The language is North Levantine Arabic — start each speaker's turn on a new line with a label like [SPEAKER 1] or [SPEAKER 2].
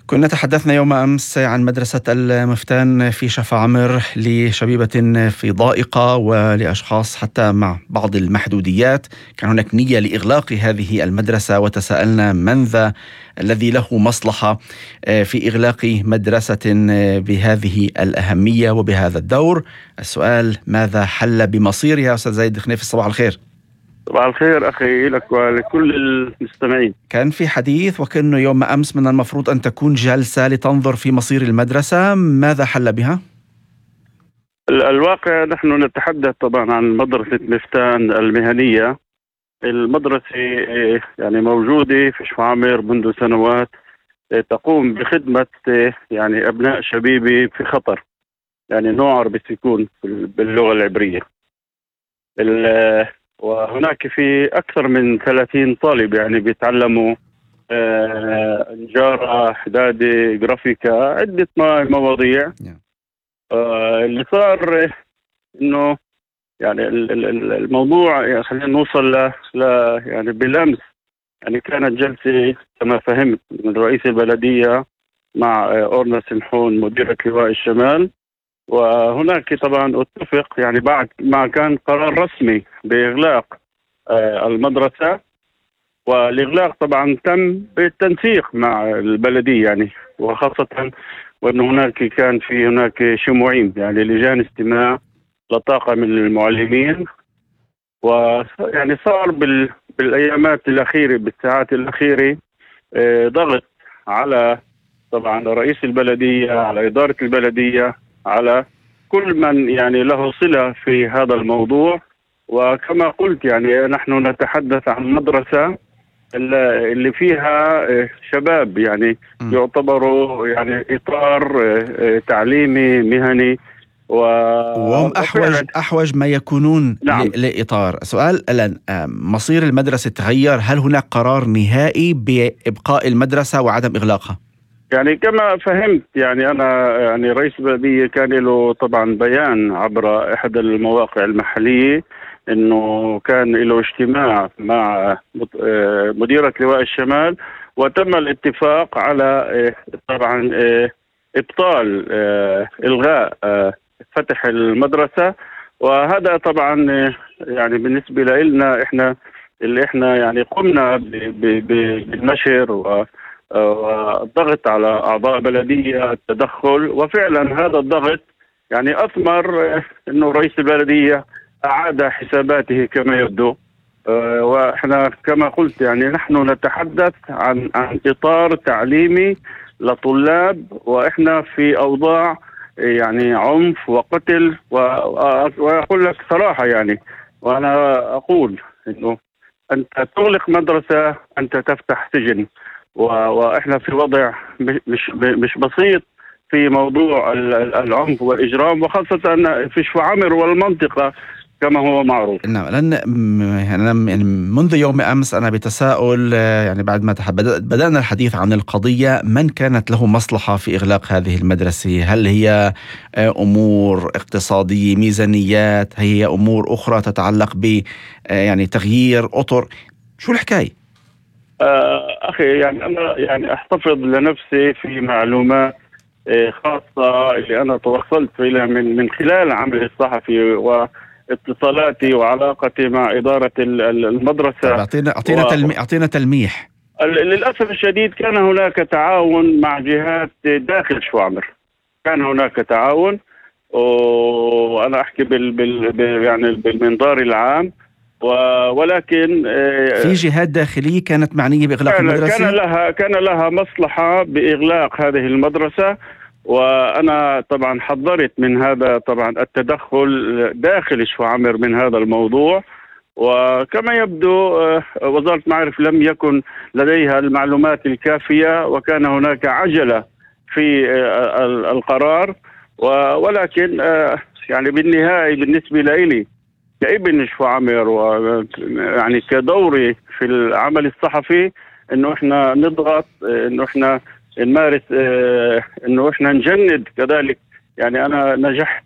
[SPEAKER 1] كنا تحدثنا يوم أمس عن مدرسة المفتان في شفاعمر لشبيبة في ضائقة ولأشخاص حتى مع بعض المحدوديات. كان هناك نية لإغلاق هذه المدرسة، وتساءلنا من ذا الذي له مصلحة في إغلاق مدرسة بهذه الأهمية وبهذا الدور. السؤال: ماذا حل بمصيرها؟ أستاذ زايد خنيفي، صباح الخير.
[SPEAKER 2] صباح الخير أخي لك ولكل المستمعين.
[SPEAKER 1] كان في حديث وكأنه يوم أمس من المفروض أن تكون جلسة لتنظر في مصير المدرسة، ماذا حل بها؟
[SPEAKER 2] الواقع نحن نتحدث طبعا عن مدرسة مفتان المهنية. المدرسة يعني موجودة في شفاعمر منذ سنوات، تقوم بخدمة يعني أبناء شبيبة في خطر، يعني نوع بالسكون باللغة العبرية. وهناك في أكثر من 30 طالب يعني بيتعلموا نجارة، حدادة، جرافيكا، عدة مواضيع. اللي صار إنه يعني الموضوع يعني خلينا نوصل يعني بلمس. يعني كانت جلسة كما فهمت من رئيس البلدية مع أورنا سمحون مديرة لواء الشمال، وهناك طبعا اتفق يعني بعد ما كان قرار رسمي بإغلاق المدرسة، والإغلاق طبعا تم بالتنسيق مع البلدية يعني، وخاصة وأن كان هناك شموعين يعني لجان استماع لطاقة من المعلمين. ويعني صار بالأيامات الأخيرة بالساعات الأخيرة ضغط على طبعا رئيس البلدية، على إدارة البلدية، على كل من يعني له صلة في هذا الموضوع. وكما قلت يعني نحن نتحدث عن مدرسة اللي فيها شباب يعني يعتبروا يعني إطار تعليمي مهني،
[SPEAKER 1] وهم أحوج ما يكونون. نعم. لإطار. سؤال الآن: مصير المدرسة تغير؟ هل هناك قرار نهائي بإبقاء المدرسة وعدم إغلاقها؟
[SPEAKER 2] يعني كما فهمت يعني أنا يعني رئيس البلدية كان له طبعا بيان عبر إحدى المواقع المحلية إنه كان له اجتماع مع مديرة لواء الشمال، وتم الاتفاق على طبعا إبطال إلغاء فتح المدرسة. وهذا طبعا يعني بالنسبة لنا احنا يعني قمنا بالنشر والضغط على أعضاء بلدية التدخل، وفعلا هذا الضغط يعني أثمر إنه رئيس البلدية أعاد حساباته كما يبدو. وإحنا كما قلت يعني نحن نتحدث عن إطار تعليمي لطلاب، وإحنا في أوضاع يعني عنف وقتل. وأقول لك صراحة يعني، وأنا أقول إنه أنت تغلق مدرسة أنت تفتح سجن، وإحنا في وضع مش بسيط في موضوع العنف والإجرام، وخاصة في شفاعمر والمنطقة كما هو معروف.
[SPEAKER 1] نعم. يعني منذ يوم أمس أنا بتساؤل، يعني بعد ما بدأنا الحديث عن القضية، من كانت له مصلحة في إغلاق هذه المدرسة؟ هل هي أمور اقتصادية، ميزانيات، هي أمور أخرى تتعلق ب يعني تغيير أطر؟ شو الحكاية؟
[SPEAKER 2] أخي يعني أنا يعني أحتفظ لنفسي في معلومات خاصة اللي أنا توصلت إليها من خلال عملي الصحفي واتصالاتي وعلاقتي مع إدارة المدرسة.
[SPEAKER 1] أعطينا تلميح.
[SPEAKER 2] للأسف الشديد كان هناك تعاون مع جهات داخل شفاعمر، كان هناك تعاون، وأنا أحكي يعني بالمنظار العام، ولكن
[SPEAKER 1] في جهات داخلية كانت معنية بإغلاق المدرسة؟
[SPEAKER 2] كان لها مصلحة بإغلاق هذه المدرسة. وأنا طبعا حذرت من هذا طبعا التدخل داخل شفاعمر من هذا الموضوع. وكما يبدو وزارة المعارف لم يكن لديها المعلومات الكافية، وكان هناك عجلة في القرار. ولكن يعني بالنهاية بالنسبة لي كابن شفاعمر ويعني كدوري في العمل الصحفي انه احنا نضغط، انه احنا نمارس، انه احنا نجند كذلك. يعني انا نجحت